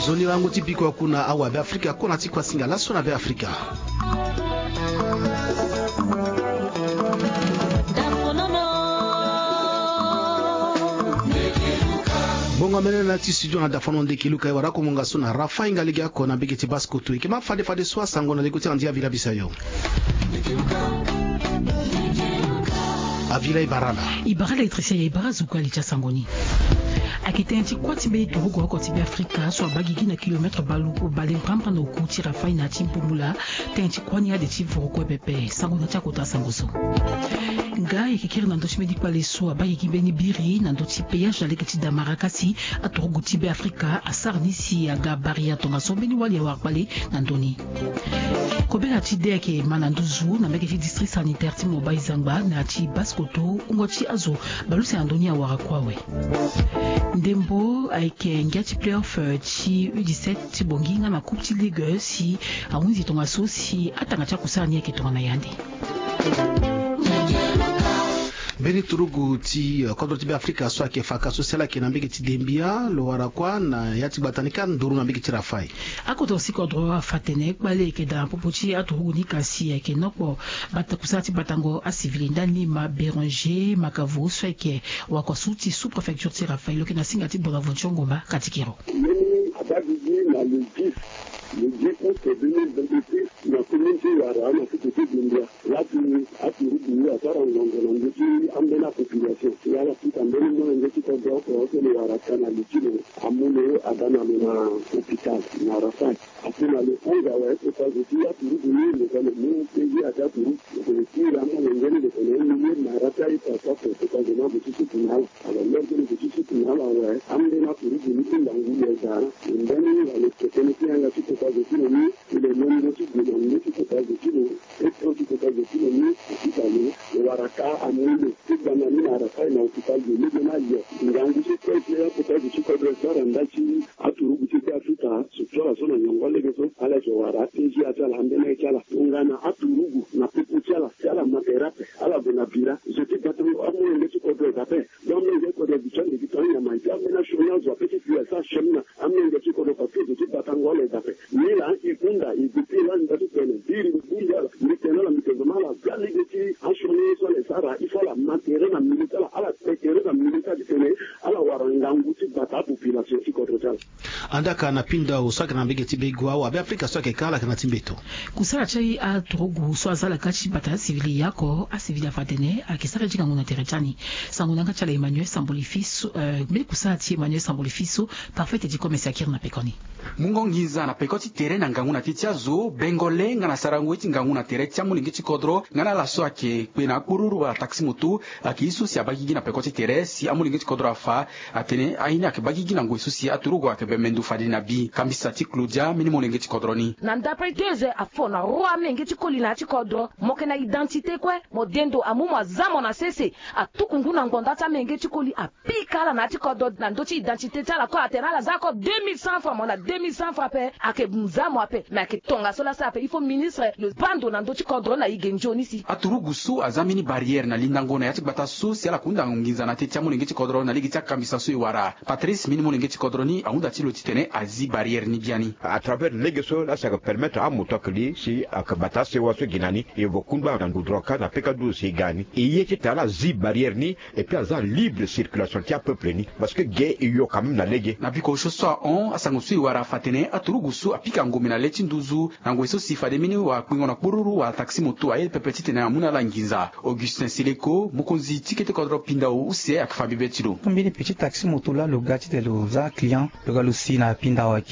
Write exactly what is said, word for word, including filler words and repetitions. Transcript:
Nzoni lango ti biko aku na awa Be Afrika, kona ti kuasinga laso na Be Afrika. Bongo amene na ti studio na dafono ndeki luka e wara ko monga so na Rafa inga lege ako na mbege ti baskoto eke ma fade fade so asango na lego ti andi avila bisa yo. Avila e bara na. E bara électricien, e bara zuku ali ti asango ni. Ayeke tënë ti kuâ ti mbeni turugu oko ti Be Afrika so abaa gigi na kilomètre bale mbrambra na oku ti Rafa na ya ti Mpumbula. Tënë ti kuâ ni ade ti voro kue pepe. Sango na ti akota sango so. Nga ayeke kiri na ndö ti mbeni kpale so abaa gigi mbeni biri na ndö ti péage na lege ti Damarakasi, aturugu ti Be Afrika asara ni si aga barrière tongaso mbeni wali awara kpale na ndö ni. Kobela ti de ayeke ma na nduzu na mbage ti district sanitaire ti Mobai Zangba na ya ti Basse-Kotto, wungo ti azo bale use na ndö ni awara kue awe. Ndembo ayeke ngia ti play-off, eh, ti U dix-sept ti Bangui nga na Coupe ti Ligue si ahunzi tongaso si atanga ti akusala ni ayeke tongana yande. Mbeni turugu ti, eh, kodro ti Be Afrika so ayeke fa ka so si ala yeke na mbage ti Dembia lo wara kuâ na ya ti gbata ni ka nduru na mbage ti Rafa. Akodro si kodro afa atene kpale ayeke daa na popo ti aturugu ni kasi ayeke nokpo bata kusala ti batango asivili ndani ma Bérenger Makavo so ayeke wakua su ti sous-préfecture ti Rafa lo yeke na singa ti Bonaventure Ngomba Katikiro. Mbeni abaa gigi na le dix, le dix août deux mille vingt-six na commune ti Wara na site ti Dembia. Laa ti aturugu asara ngonzo na ndö ti ambeni apopulation si ala fika mbeni molenge ti kodro oko so lo wara ka na li ti lo amu lo aga na lo na hôpital na Rafa. Ape na lo hunda awe kota zo ti aturugu ni lo ga lo mu peyi ade aturugu lo tene ti iri amolenge ni lo tene milieu na Rafa e pasa ape kota zo ni abo ti suku na ala. Alors lere ti lo ti suku na ala awe ambeni aturugu ni ti ndangu lo daa lo mbeni wala lo tene ti yanga ti kota zo ti lo ni. Ti lo londo ti gue na ndö ti kota zo ti lo. Petro ti kota zo ti lo ni. Ti fa lo lo wara ka amu lo ti gbanda ni na Rafa na hôpital de lege ni aye. Ngangu so kue ti akota zo ti kodro so ara nda ti aturugu ti Be Afrika so ti ala so na nyongo lege so ala yeke wara apeji ati ala ambeni aye ti ala tongana aturugu na popo ti ala si ala ma tere ape ala gue na bira zo ti gbata amolenge ti kodro daa ape. Donc amolenge ti kodro aduti ande ti tongana nyama e ti ambeni asioni azo ape ti fi asara asioni na amolenge ti kodro parce que zo ti batango ala daa ape. Ni laa e hunda e depuis laa ni nda ti tene biri mbi bongbi ala mbi tene ala mbi tene ma ala ga lege ti asioni so ala e sara il faut ala ma tere na milieu ti ala ala te tere na milieu ti ala ti tene ala wara ngangu ti bata apopulation ti kodro ti ala. Andaa ka na Pindao so ayeke na mbage ti Begoua awa Be Afrika so ayeke ka ala yeke na ti mbeto. Kusala ti aturugu so aza ala ga ti bata asivili ya oko asivili afa atene ayeke sara ye ti ngangu na tere ti ani. Sango na yanga ti ala Emmanuel Samboli Fiso, eh, mbeni kusala ti Emmanuel Samboli Fiso. Parfait ti di kome si akiri na peko ni. Mungo nginza na peko ti tere na ngangu na teti azo, bengole nga na sarango ye ti ngangu na tere ti amolenge ti kodro nga na ala so ayeke kpe na akporuru wala taxi moto. Ayeke ye so si abaa gigi na peko ti tere si amolenge ti kodro afa atene aye ni ayeke baa gigi na ngoi so si aturugu ayeke bembe ndo fade na bi. Kambisa ti Claudia mbeni molenge ti kodro ni. Na ndapre deux heures afo na roi amenge ti koli na ya ti kodro mo yeke na identité kue. Mo de ndo amu mo aza mo na sese. Atuku ngu na ngbonda ti amenge ti koli a pika ala na ya ti kodro na ndö ti identité ti ala kue atene ala za ako deux mille cent francs mo na deux mille cent francs ape. Ayeke nza mo ape me ayeke tongaso laa asara ape il faut ministre lo baa ndo na ndö ti kodro na e ge nzoni si. Aturugu so aza mbeni barrière na lindango na ya ti gbata so si ala kunda nginza na teti amolenge ti kodro na lege ti akambisa so e wara. Patrice mbeni molenge ti kodro ni ahunda ti lo titene azi barrière ni biani. À travers lege so laa si ayeke permettre amoto ayeke li si ayeke bata asewa so gi na ni e vo kungba na ndudro kâ na peka duzo si e ga ni e ye ti tara azi barrière ni. Et puis aza libre circulation ti apeuple ni parce que ge e yo quand même na lege. Na biko osio so ahon asango so e wara afa atene aturugu so apika ngombe na le ti nduzu na ngoi so si fade mbeni wakpingo na kporuru wala taxi moto aye pepe titene amu na ala nginza. Augustin Seleko mokonzi ti kete kodro Pindao use ayeke fa bibe ti lo. Mbeni petit taxi moto laa lo ga titene lo za client lo ga lo si na Pindao aki.